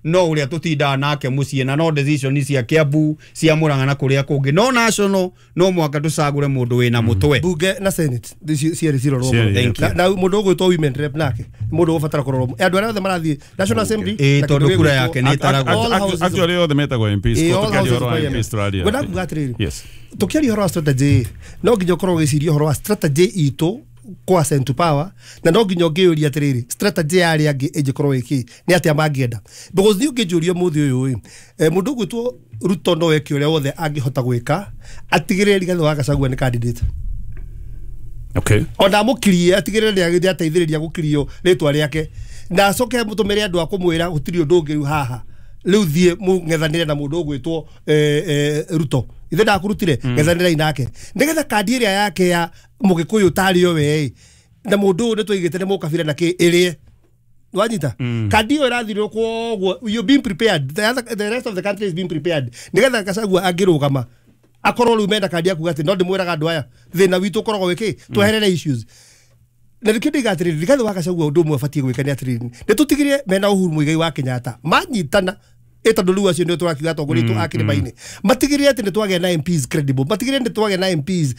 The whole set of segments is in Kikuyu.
No ũrĩa tũtindaga nake mũciĩ na no decision cia Kiambu, cia Murang'a na kũrĩa kũngĩ, no national no mũhaka tũcagũre mũndũ wĩna mũtwe. Bunge na Senate cierĩ cirorwo. Cierĩ. Thank you. Na mũndũ ũgwĩtwo women rep nake nĩ mũndũ ũgũbatara kũrorwo, andũ arĩa othe marathiĩ National Assembly Ĩĩ, na tondũ kĩndũ kura gĩgwĩtwo yake nĩ ĩtaragwo. All houses of- Actually othe metagwo MPs. Ĩĩ, ko all tũkĩaria houses ũhoro wa of MPs tũraria. Ngwenda kuga atĩrĩrĩ, Yes. tũkĩaria ũhoro wa strategy, no nginya ũkorwo ũgĩciria ũhoro wa strategy itũ kwa ascend to power, na no nginya ũngĩyũria atĩrĩrĩ, strategy ya arĩa angĩ ĩngĩkorwo ĩkĩ, nĩ atĩa mangĩenda? Because niĩ ũngĩnjũria ũmũthĩ ũyũ ĩ, mũndũ ũgwĩtwo Ruto no eke ũrĩa wothe angĩhota gwĩka atigĩrĩre Rigathĩ wa Gachagua nĩ candidate. Ona amũkirie, atigĩrĩre nĩ ateithĩrĩria gũkirio rĩtwa rĩake, na acoke mũtũmĩre andũ a kũmwĩra gũtirĩ ũndũ ũngĩ rĩu haha, rĩu thiĩ mũng'ethanĩre na mũndũ ũgwĩtwo Ruto, ithe ndakũrutire, ng'ethanĩrai nake nĩgetha kandi ĩrĩa yake ya mũgĩkũyũ tarĩ o we na mũndũ ũyũ nĩ twaigĩte nĩ mũkabira na kĩ ĩrĩe wanyita kandi ĩyo ĩrathirwo. Koguo you being prepared, the rest of the country is being prepared nĩgetha Gachagua angĩrũgama akorwo rĩu mena kandi ya kuga atĩ no ndĩmwĩraga andũ aya thĩna witũ ũkoragwo wĩkĩ, tweherere issues. Na nĩkĩo ndĩiga atĩrĩrĩ, Rigathĩ wa Gachagua ũndũ ũmwe abatiĩ gwĩka nĩ atĩrĩrĩ, nĩ tũtigĩrĩre mena Uhuru Muigai wa Kenyatta manyitana ĩ, tondũ rĩu acio nĩo tũrakiuga atongoria aitũ a kĩrĩma-inĩ, matigĩrĩre atĩ nĩ twagĩa na MPs credible, matigĩrĩre nĩ twagĩa na MPs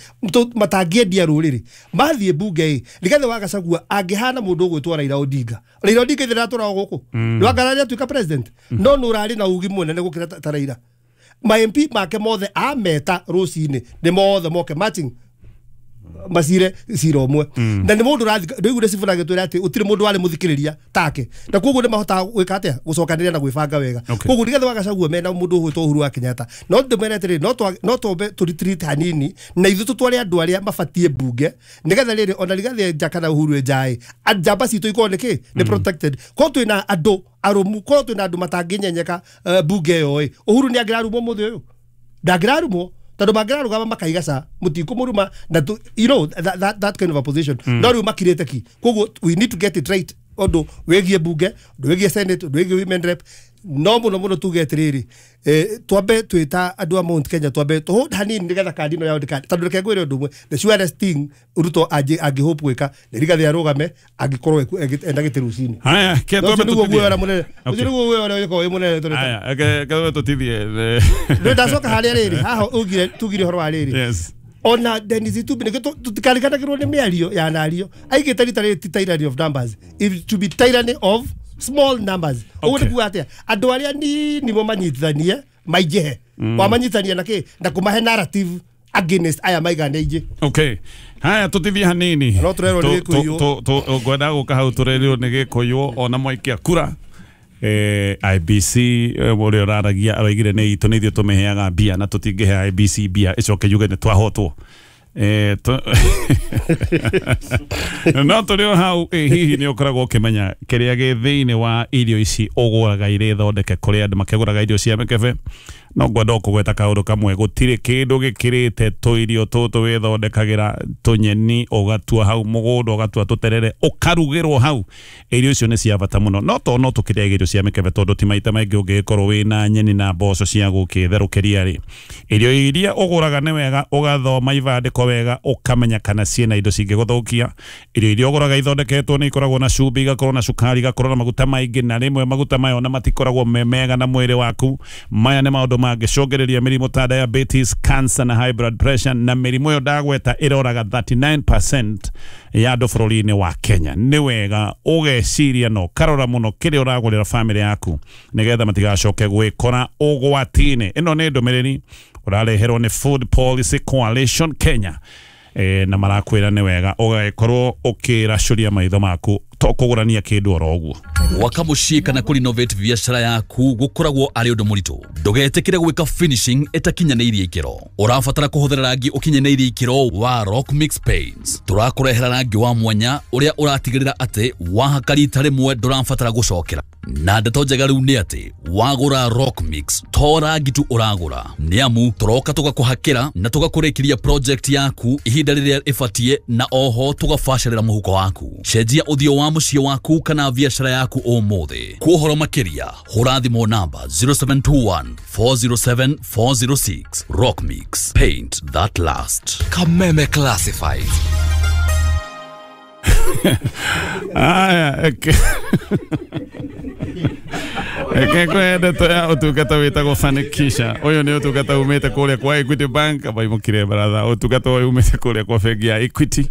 matangĩendia rũrĩrĩ mathiĩ mbunge ĩ. Rigathĩ wa Gachagua angĩhana mũndũ ũgwĩtwo Raila Odinga. Raila Odinga ithe ndatũrago gũkũ nĩwangara atuĩka president, no nĩ ũrarĩ na ugi mũnene gũkĩra ta Raila. Ma MP make mothe ameta rũcinĩ nĩ mothe moke matching macire cira ũmwe, na nĩ mũndũ ũrathi ndũiguire Sifuna agĩtwĩra atĩ gũtirĩ mũndũ warĩ mũthikĩrĩria take, na koguo nĩ mahotaga gwĩka atĩa, gũcokanĩrĩria na gwĩbanga wega. Koguo Rigathĩ wa Gachagua mena mũndũ ũgwĩtwo Uhuru wa Kenyatta, no ndĩmwĩre atĩrĩrĩ, no twambe tũ retreat hanini na ithuĩ tũtware andũ arĩa mabatiĩ mbunge, nĩgetha rĩrĩ ona Rigathĩ nja kana Uhuru njaĩ, njamba citũ ikorwo nĩ kĩ, nĩ protected. Korwo twĩna andũ arũmu, korwo twĩna andũ matangĩnyenyeka mbunge ĩyo ĩ, Uhuru nĩ angĩrarumwo mũthĩ ũyũ? Ndangĩrarumwo, tondũ mangĩrarũgama makaiga ca mũtikũmũruma na you know that kind of a position, no rĩu makirĩte ki. Koguo we need to get it right ũndũ wĩgiĩ mbunge, ũndũ wĩgiĩ Senate, ũndũ wĩgiĩ women rep. No mũno mũno tuge atĩrĩrĩ, twambe twĩta andũ a Mount Kenya twambe tũhold hanini nĩgetha kandi ĩno yao ndĩka, tondũ reke ngwĩre ũndũ ũmwe, the surest thing Ruto angĩhope gwĩka nĩ Rigathĩ arũgame angĩkorwo enda gĩtĩ rũcinĩ. Haya, ke No, ũcio twambe nĩguo tũtithie. guoya ũrĩa mũnene, ũcio nĩguo guoya ũrĩa ũgĩkorwo wĩ mũnene tũrĩ. Haya, ke twambe tũtithie. Rĩu ndacoka harĩa rĩrĩ haha ugire, tugire ũhoro wa rĩrĩ, ona Dennis Itumbi, nĩkĩo tũtikariganagĩrwo nĩ mĩario ya nario aigĩte rita rĩrĩ ti tyranny of numbers, it to be tyranny of small numbers. Ũguo nĩ kuga atĩa? Andũ arĩa nini mo manyitithanie maingĩhe, wamanyitithania na kĩ, na kũmahe narrative against aya maigana aingĩ. Okay. Haya, tũtithie hanini. No tũrerwo nĩ Gĩkũyũ. Ngwenda gũka hau tũrerirwo nĩ Gĩkũyũ ona mwaikia kura. IBC, ũrĩa ũraragia aroigire nĩ itũ, nĩ ithuĩ tũmĩheaga mbia, na tũtingĩhe IBC mbia ĩcoke yuge nĩ twahotwo. No tũrĩ o hau, hihi nĩ ũkoragwo ũkĩmenya kĩrĩa gĩ thĩinĩ wa irio ici ũgũraga irĩ thondeke, kũrĩa andũ makĩgũraga irio cia mĩkebe? No ngwenda o kũgweta kaũndũ kamwe, gũtirĩ kĩndũ gĩkĩrĩte tũirio tũtũ wĩthondekagĩra, tũnyeni ũgatua hau mũgũnda, ũgatua tũterere ũkarugĩrwo hau. Irio icio nĩ cia bata mũno, no to no tũkĩrĩaga irio cia mĩkebe, tondũ ti maita maingĩ ũngĩgĩkorwo wĩna nyeni na mboco cia gũkĩtherũkĩria rĩ. Irio iria ũgũraga nĩ wega ũgathoma ibandĩko wega, ũkamenya kana ciĩna indo cingĩgũthũkia. Irio iria ũgũraga ithondeketwo nĩ ikoragwo na cumbĩ, igakorwo na cukari, igakorwo na maguta maingĩ, na rĩmwe maguta maya ona matikoragwo me mega na mwĩrĩ waku. Maya nĩ maũndũ mangĩcũngĩrĩria mĩrimũ ta diabetes, cancer na high blood pressure, na mĩrimũ ĩyo ndagweta ĩroraga 39% ya andũ bũrũri-inĩ wa Kenya. Nĩ wega ũgeciria na ũkarora mũno kĩrĩa ũragũrĩra bamĩrĩ yaku, nĩgetha matigacoke gwĩkora ũgwati-inĩ. Ĩno nĩ ndũmĩrĩri ũrareherwo nĩ Food Policy Coalition Kenya, na marakwĩra nĩ wega ũgagĩkorwo ũkĩracũria maitho maku, to kũgũrania kĩndũ oro ũguo. Gwaka mũciĩ kana kũrenovate biacara yaku gũkoragwo arĩ ũndũ mũritũ. Ndũgetĩkĩre gwĩka finishing ĩtakinyanĩirie ikĩro. Ũrabatara kũhũthĩra rangi ũkinyanĩirie ikĩro wa Rock Mix Paints. Tũrakũrehera rangi wa mwanya ũrĩa ũratigĩrĩra atĩ wahaka rita rĩmwe ndũrabatara gũcokera. Na ndeto njega rĩu nĩ atĩ wagũra Rock Mix to rangi tu ũragũra, nĩ amu tũroka tũgakũhakĩra na tũgakũrĩkĩria project yaku ihinda rĩrĩa ĩbatiĩ, na oho tũgabacĩrĩra mũhuko waku. Cenjia ũthiũ wa mũciĩ waku kana biacara yaku ũmũthĩ. Kwa ũhoro makĩria hũra thimũ namba 0721 407 406. Rock Mix, paint that last. Kameme Classifieds. Aya, eke kwende ya utungata witagwo Fanikisha. Uyu ni utungata umite kuria kwa Equity Bank abaimukire baratha. Utungata uyu umite kuria kwa bengi ya Equity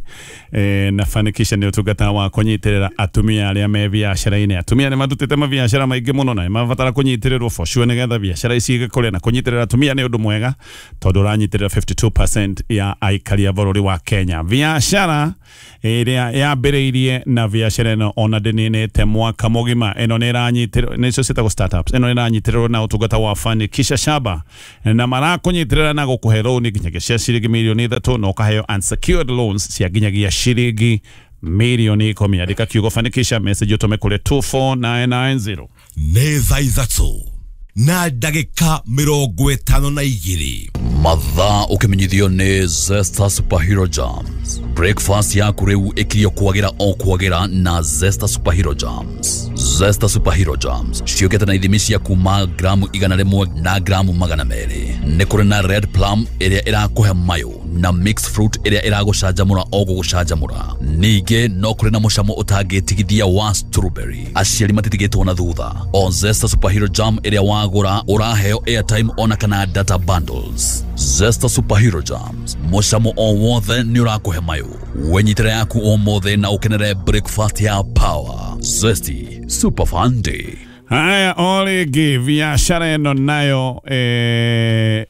na Fanikisha ni utungata wa kunyitirira atumia aria me biacara-ini. Atumia ni matutite mabiacara maingi muno na mabatara kunyitirirwo for sure nigetha biacara ici igikure, na kunyitirira atumia ni undu mwega tondu uranyitirira 52% ya aikari a bururi wa Kenya. Biacara iria yambiriirie na biacara ino ona ndininite mwaka mugima ino ni iranyitirwo nicio ciĩtagwo startups ino iranyitirĩrwo na ũtungata wa Fanikisha Shaba na marakunyitirĩra na gũkũhe loan nginyagia cia ciringi mirioni 3 na ũkaheo unsecured loans cia nginyagia ciringi mirioni 10. Andĩka kiugo Fanikisha message ũtũme kũrĩ 24990. Nĩ thaa 3 na ndagĩka 52. Mathaa ũkĩmenyithio nĩ Zesta Superhero Jams. Breakfast yaku rĩu ĩkirio kwagĩra o kwagĩra na Zesta Superhero Jams. Zesta Superhero Jams ciũkĩte na ithimi cia kuma gramu 100 na gramu 200. Nĩ kũrĩ na red plum ĩrĩa ĩrakũhe mayũ na mixed fruit ĩrĩa ĩragũcanjamũra o gũgũcanjamũra. Ningĩ no kũrĩ na mũcamo ũtangĩtigithia wa strawberry. Aciari matitigĩtwo na thutha. O Zesta Superhero Jam ĩrĩa wagũra ũraheo airtime ona kana data bundles. Zesta Superhero Jams, mũcamo o wothe nĩ ũrakũhe mayũ. Wenyitĩra yaku ũmũthĩ na ũkenere breakfast ya power. Zesty Super Fun Day. Haya, o rĩngĩ biacara ĩno nayo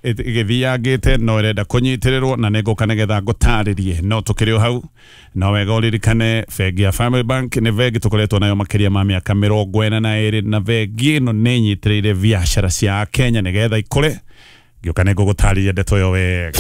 ĩgĩthiangĩte no ĩrenda kũnyitĩrĩrwo na nĩngũka nĩgetha ngũtarĩrie, no tũkĩrĩ o hau no wega ũririkane bengi ya Family Bank nĩ bengi tũkoretwo nayo makĩria ma mĩaka 42 na bengi ĩno nĩ ĩnyitĩrĩire biacara cia Kenya nĩgetha ikũre. Ngĩũka nĩngũgũtarĩria ndeto ĩyo wega.